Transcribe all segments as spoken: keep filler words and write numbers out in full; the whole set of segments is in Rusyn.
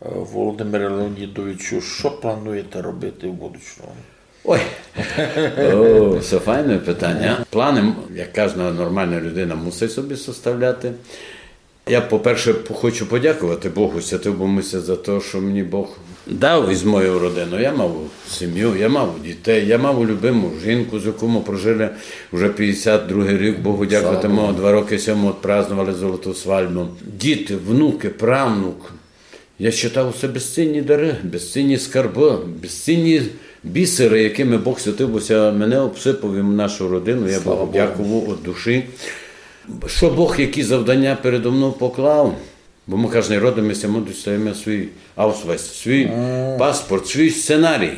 Е, Володимире Леонідовичу, што плануєте робити в будучому? Ой, о, се файне питаня. Планы, як кажда нормална людина, мусить собі составляти. Я, по-перше, п-, хочу подякувати Богу, святив бы ся за то, што мені Бог дав із мою родину. Я мав сім'ю, я мав дітей, я мав любиму жінку, з якою мы прожили вже пятдесят другый рік. Богу дякувати, мы два рокы сьому отпраздновали золоту свадьбу. Діти, внукы, правнук. Я считав, се безцінні дары, безцінні скарбы, безцінні бісеры, якыми Бог святив бы ся мене обсыпав і нашу родину. Я Богу дякую од душі. Што Бог, які завданя передо мнов поклав, бо мы каждый родиме ся, мы достаєме свій аусвайс, свій паспорт, свій сценарій.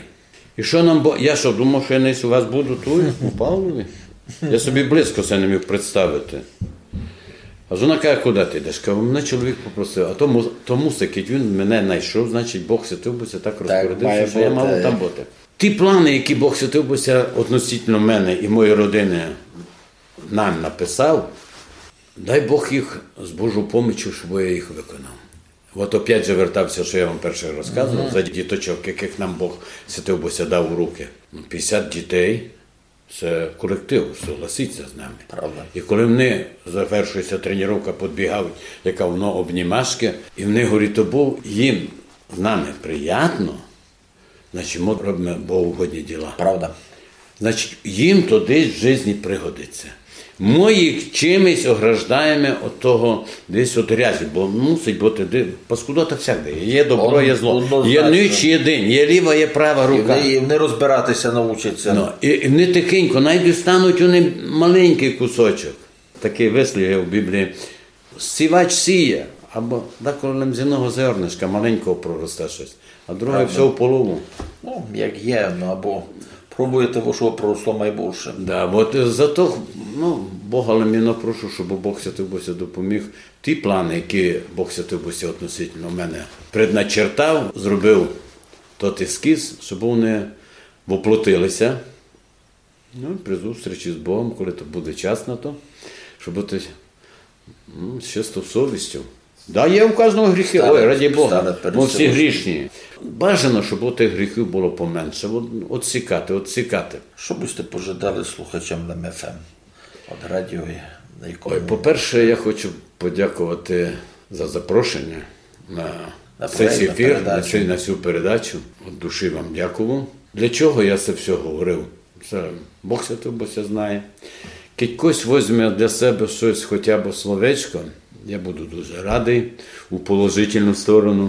І што нам Бо-, я што думав, што я десь у вас буду туй, у Павлові? Я собі близько се не міг представити. А вона каже: «Куды ты йдеш?» Кажу: «Мене чоловік попросив, а то му-, то мусить, кідь він мене найшов, значить, Бог святив бы ся так розпорядив ся, што я мав там быти». Ті планы, які Бог святив бы ся относительно мене і моєї родины нам написав, дай Бог їх з Божою помічю, щоб я їх виконав. От опять же вертав ся, што я вам перше розказував, за діточок, якых нам Бог святив бы ся дав у рукы. Ну, пятдесят дітей, се колектив, согласіться з нами. Правда. І коли в них завершує ся тренировка, підбігають, яка воно обнімашка, і в них, говорить, то бо їм з нами приятно, значить, мы робиме Богу угодні діла. Правда. Значить, їм то десь в жизни пригодиться. Мы їх чимось ограждаєме од того, десь од грязі, бо мусить быти де-, паскудота всякде є. Є добро, є зло, є ніч, є день, є ліва, є права рука. І вони, і вони розбирати ся научать ся. Ну, і, і вони тихенько, най дістануть вони маленькый кусочок. Такый вислів є в Біблії. Сівач сіє, або деколи лем з одного зернышка маленького проросте штось, а друге всьо в полову. Ну, як є, ну, або пробуєте, во што проросло майбольше. Да, от, е, зато, ну, Бога лем єдно прошу, щоб Бог святив бы ся допоміг. Ті планы, які Бог святив бы ся относительно мене предначертав, зробив тот ескіз, щоб вони воплотили ся. Ну, при зустрічі з Богом, коли то буде час на то, щоб бути, м, з чистою совістю. Да, є у каждого гріхи. Ой, раді Бога, мы всі грішні. Бажано, щоб тих гріхів было поменше. От, отсікати, отсікати. Што бы сьте пожадали слухачам Лем ФМ? От радіо, на якому... Ой, по-перше, я хочу подякувати за запрошення на цей ефір, на цей, на цю передачу. От душі вам дякую. Для чого я се всьо говорив? Се Бог святий, бо се знає. Кідь хтось возьме для себе штось, хоча б словечко, я буду дуже радый у положительну сторону.